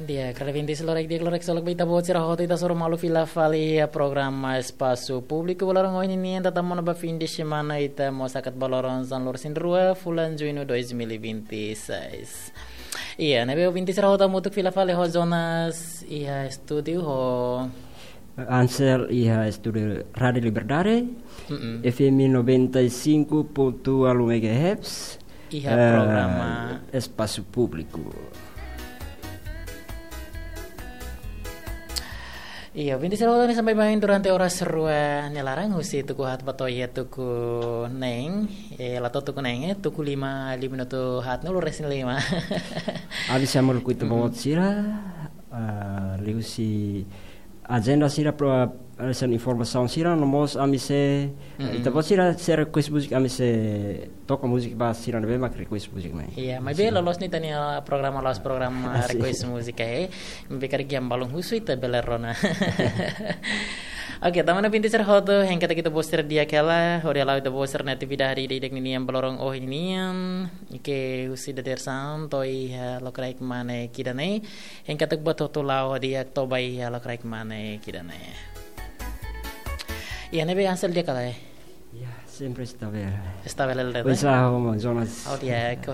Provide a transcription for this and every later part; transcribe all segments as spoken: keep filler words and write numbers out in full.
Di'ak, kala vintis loraik, di'ak loraik, solok ba ita-boot sira hotu, ita hasoru malu fila fali iha programa Espasu Públiku ba loron ohin nian, ita tama ona ba fin de semana, ita mós hakat ba loron sanulu-resin-rua fulan Juñu dois mil e vinte e seis. Iha ne'ebé ouvinte sira hotu hamutuk fila fali ho Jonas iha estúdiu, ho Ansel iha estúdiu Rádiu Liberdade, Mm-mm. F M noventa e cinco ponto nol megahertz, Iha eh, programa Espasu Públiku. Iha, ouvinte sira hotu, ne'e sampai mai durante oras rua nia laran, husi tuku haat ba to'o iha tuku neen, eh, la to'o tuku neen, eh, tuku lima, lima minutu haatnulu-resin-lima. Ami sei hamutuk ho ita-boot Mm-mm. sira, ah, liuhusi ajenda sira, pro, eh, hanesan informasaun sira, no mós ami sei, Mm-mm. ita-boot sira sei request múzika, ami sei toka múzika ba sira ne'ebé mak request múzika mai. Iha, maibé Sira. loloos ne'e ita-nia programa, la'ós programa Ah, sin. request múzika, eh. Maibé karik iha balun husu ita bele rona. Oke, tama ona ouvinte sira hotu, hein katak ita-boot sira di'ak hela, hodi hala'o ita-boot sira-nia atividade ida-idak ninian ba loron ohin nian, ke husi dadeer-saan to'o iha lokraik mane ida-ne'e, hein katak buat hotu la'o di'ak to'o ba iha lokraik mane ida-ne'e. Iha ne'ebé Ansel di'ak ka lae? Ya, sempre está bem. Está bem, Lelda, Pois né? ah, vamos, Jonas. Oh, di'ak.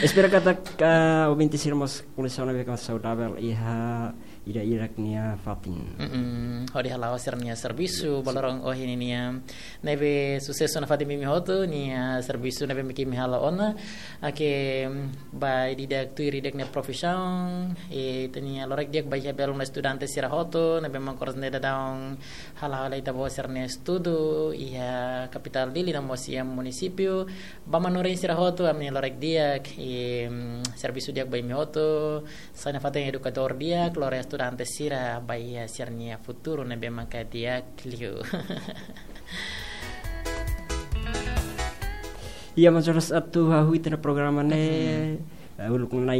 Espera katak, ah, ouvinte sira mós koleksiona beka saudável iha ida-idak nia fatin. Mm-mm. Hodi hala'o sira-nia servisu ba loron ohin nian. Ne'ebé susesu nafatin ba imi hotu, nia servisu ne'ebé mak imi hala'o ona. Oke, mm, ba ida-idak tuir ida-idak nia profisaun, eh, ita-nia loraik di'ak ba iha belun estudante sira hotu, ne'ebé mak oras ne'e daudaun hala'o hela ita-boot sira-nia estudu iha kapitál Dili no mós iha munisípiu. Ba manorin sira hotu, ami-nia loraik di'ak, i, mm, servisu di'ak ba imi hotu, sai nafatin edukadór di'ak, lori estudante sira ba iha sira-nia futuru ne'ebé maka di'ak liu. Iha, mas oras atu hahú ita-nia programa ne'e, Mm-hmm. eh, uluk nai